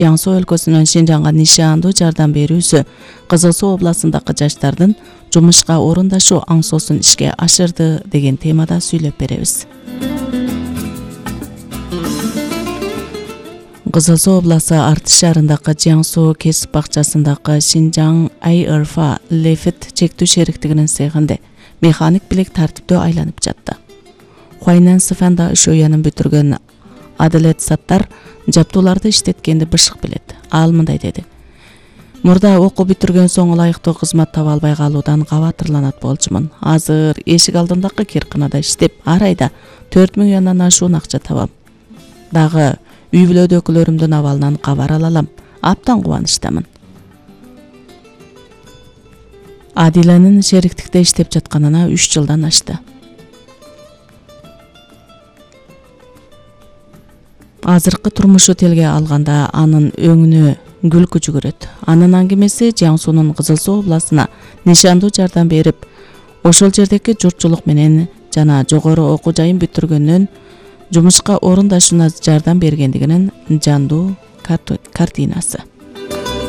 Жаң Суу өлкөсүнөн Шинжаңга нишандуу жардам берүүсү Кызыл Суу областындагы жаштардын жумушка орундашуу аңсоосун ишке ашырды деген темада сүйлөп беребиз. Кызыл Суу областы Артыш шаарындагы Жаң Суу кесип бакчасындагы Шинжаң Айырфа Лефит чектүү шериктигинин цехинде механик билек тартиптүү айланып жатты. Хуайнан Сыфанда Шоянын бүтүргөн Адалет Саттар жаптууларды иштеткенди бышык билет. Ал мындай деди: Мурда окуу бүтүргөн соң ылайыктуу кызмат таба албай калуудан кабатырланат болчумун. Азыр эшик алдындагы кирканада иштеп, ар айда 4 миллиондон ашуун акча табам. Дагы үй бүлөдөгүлөрүмдүн абалынан кабар ала алам. Аптан кубанычтамын. Адиланын шериктикте иштеп жатканына 3 жылдан ашты. Азыркы турмушу телге алганда анын өңүнө күлкү жүгүрөт. Анын аңгемеси Жаң Суунун Кызыл Суу областына нишандуу жардам берип, ошол жердеги журтчулук менен жана жогору окуу жайын бүтүргөндөн жумушка орундашууна жардам бергендигинин жандуу картинасы.